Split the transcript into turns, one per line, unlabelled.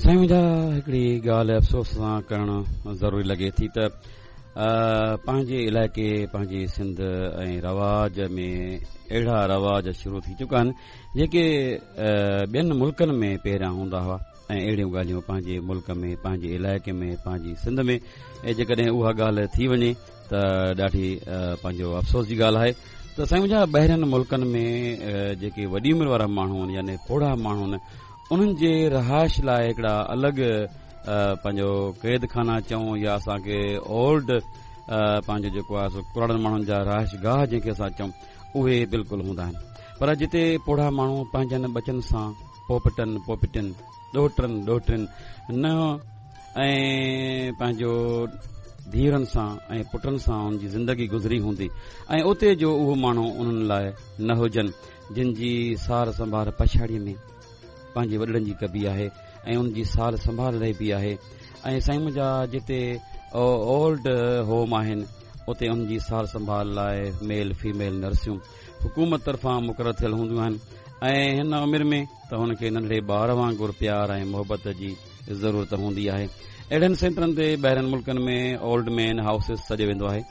سائين منهنجا، هڪڙي ڳالهه افسوس سان ڪرڻ ضروري لڳي ٿي ته پنهنجي علائقي، پنهنجي سنڌ ۽ رواج ۾ اهڙا رواج شروع ٿي چڪا آهن، جيڪي ٻين ملڪن ۾ پهريان هوندا هئا، ۽ اهڙيون ڳالهيون پنهنجي ملڪ ۾، پنهنجي علائقي ۾، پنهنجي سنڌ ۾ جيڪڏهن اها ڳالهه ٿي وڃي ته ڏاڍي پنهنجو افسوس جي ڳالهه آهي ته سائين منهنجا، ٻاهرين ملڪن ۾ جيڪي وڏي عمر وارا ماڻهو آهن، يعني پوڙها ماڻهو آهن، انهن جي رهائش لاء هڪڙا الڳ پنهنجو قيد خانا چئون يا اسان کي اولڊ پنهنجو جيڪو آهي سو ڪراڙن ماڻهن جا رهائش گاهه جنهن کي اسان چئون، اهي بلڪل هوندا آهن، پر جتي پوڙها ماڻهو پنهنجن ٻچن سان، پوپٽن پوپٽين، ڏوهٽن ڏوهٽين، ننهن ۽ پنهنجو ڌيئرن سان ۽ پٽن سان ان جي زندگي گذري هوندي، ۽ اتي جو اهو ماڻهو انهن لاء نه هجن جن جي سار سنڀال پڇاڙيء ۾ پنهنجي وڏڙن جي ڪبي آهي ۽ ان جي سار سنڀال لهبي آهي. ۽ سائين منهنجا، جتي اولڊ هوم آهن، اتي انهن جي سار سنڀال لاء ميل فيميل نرسيون حڪومت طرفان مقرر ٿيل هونديون آهن، ۽ هن عمر ۾ ته هن کي ننڍڙي ٻار وانگر پيار ۽ محبت جي ضرورت هوندي آهي. اهڙن سينٽرن تي ٻاهرين ملڪن ۾ اولڊ مين هائوسز سڏيو ويندو آهي.